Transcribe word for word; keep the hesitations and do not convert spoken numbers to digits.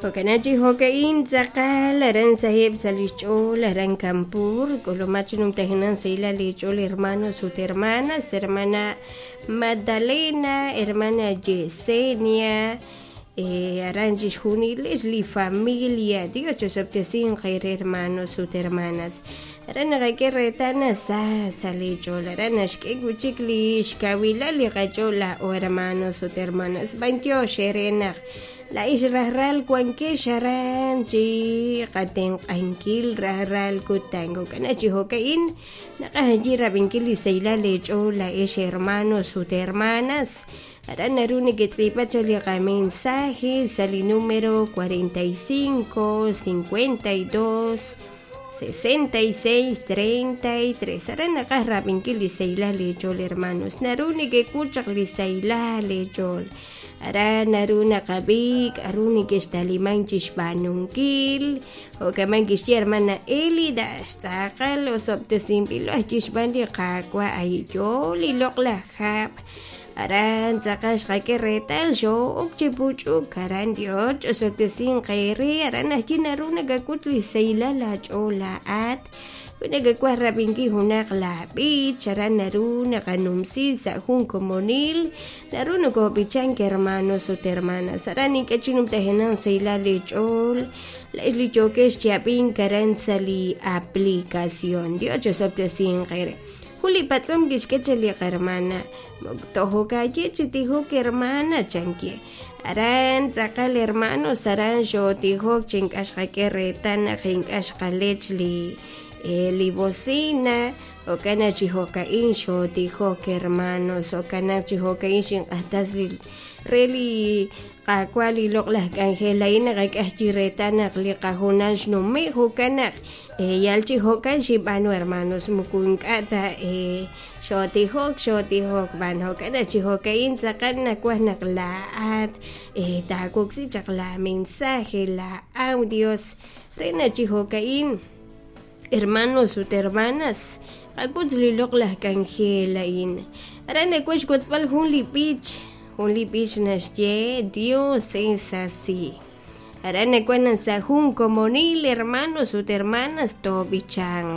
Jo'kan chi jo'ka'in tz'aqal aran saheb' sa' li xch'ool aran Kanpur k'ulumak chi numtajenaq sahilal lich'ool hermanos ut hermanas, hermana Magdalena, hermana Yesenia, eh, aran chixjunilex li familia Dios chosob'tesinq eere hermanos ut hermanas aran naqak'e reetal naq sa sa' lich'ool aran naxk'e wi'chik li xkawilal li qach'ool laa'o hermanos ut hermanas b'antiox eere naq la'ix rajlal wankex aran chi qatenq'ankil rajlal kutan jo'kan chi jo'ka'in naqaj rab'inkil li sahilal leech'ool la'ex hermanos ut hermanas aran naru neketz'iib'a chaq li qamensaje sa' li número cuarenta y cinco cincuenta y dos sesenta y seis treinta y tres aran naqaj rab'inkil li sahilal leech'ool hermanos naru nekek'ul chaq li sahilal leech'ool aran naru naqab'i k'a'ru nekextaliman chixb'aanunkil jo'kaman kixye hermana Elida xtz'aqal osob'tesinb'ilo aj chixb'aan li Qaawa' ay yoo li loq'laj hab' aran tz'aqal xqak'e reetal xo'ok chi puch'uk aran Dios ch'osob'tesinq eere aran ajwi' naru nakak'ut li sahilal laach'ool laa'at wi nakawaj rab'inkil junaq laab'ich aran naru naqanumsi sa' jun komonil naru nokob'ichank hermanos ut hermanas aran ink'a' chi numtajenaq sahilal leech'ool la'ex li yookex chi ab'ink aran sa' li aplicación Dios chosob'tesinq eere jun li patz'om kixk'e chaq li qarmana tojokaye chi tijok hermana chankie aran tz'aqal hermanos aran xotijok chi ink'a' xqak'e reetal naq ink'a' xqalech li eh, li bocina jo'kan chi jo'ka'in xotijok hermanos jo'kan chi jo'ka'in xinq'ajtas li re li Qaawa' li loq'laj k'anjel a'in naqak'aj chi reetal naq li qajunal xnume' jo'kan naq eh, yal chi jo'kan xib'aanu hermanos muku ink'a' ta eh, xotijok xotijok b'an jo'kan chi jo'ka'in tz'aqal nawaj naq laa'at eh, taawoksi chaq la mensaje la audios re naq chi jo'ka'in hermanos ut hermanas qak'utz li loq'laj k'anjel a'in aran nawaj xwotzb'al jun li b'ich jun li b'ich naxye Dios es así aran nawaj naq sa' jun komonil hermanos ut hermanas toob'ichanq.